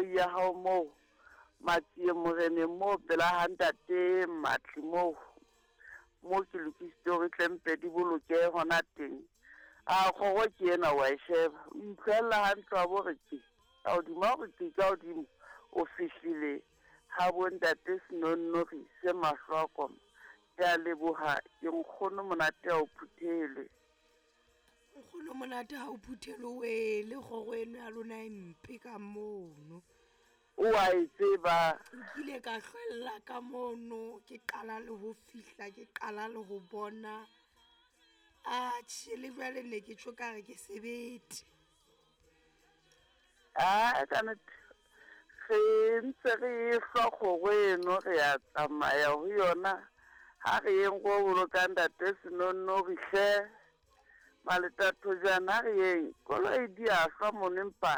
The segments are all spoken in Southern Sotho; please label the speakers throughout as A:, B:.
A: koloi ya hao moo Matsie Moreneng moo pela ha ntate Matli moo mo ke lokisitse hore tle mpe di bolokehe hona teng. A kgoro ke ena wa e sheba. O itlhoella hantle wa bo re ke ka hodimo ha o re ke ka hodimo o fihlile ha bo ntate Senonnori se mahlo a koma. Ke a leboha ke nkgono monate ha o phuthelwe.
B: Nkgono monate ha o phuthelwe le kgoro eno ya lona e mpe ka mono.
A: O a e tseba.
B: Nkile ka hlwella ka mono ke qala le ho fihla ke qala le ho bona. Atjhe le jwale ne ke tjho ka re ke sebete.
A: A ka nnete re ntse re e hlwa kgoro eno re a tsamaya ho yona ha re yeng go bolokang ntate Senonnori hle. Maletathojana ha re yeng koloi di a hlwa mono empa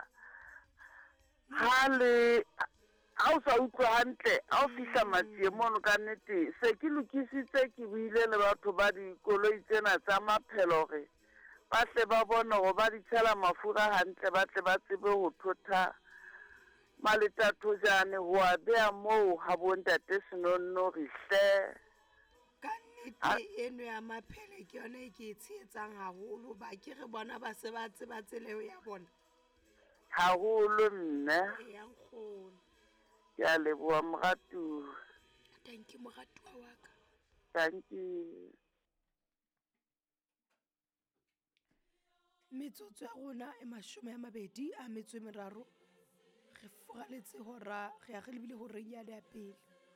A: ha le ha o sa utlwe hantle ha o fihla Matsie mono ka nnete se ke lokisitse ke buile le batho ba dikoloi tsena tsa maphelo hore ba tle ba bone hore ba di tshela mafura hantle ba tle ba tsebe ho thotha Maletathojane ho a beha moo ha bo ntate Senonnori hle.
B: Ka nnete eno ya maphele ke yona e ke e tshehetsang haholo ba ke re bona ba se ba tseba tsela eo ya bona.
A: Haholo mme.
B: Eya nkgono.
A: Ke a leboha moratuwa.
B: Thank you moratuwa wa ka.
A: Thank you.
B: Metsotso ya rona e 23 re furaletse hora re ya re lebile horeng yane ya pele.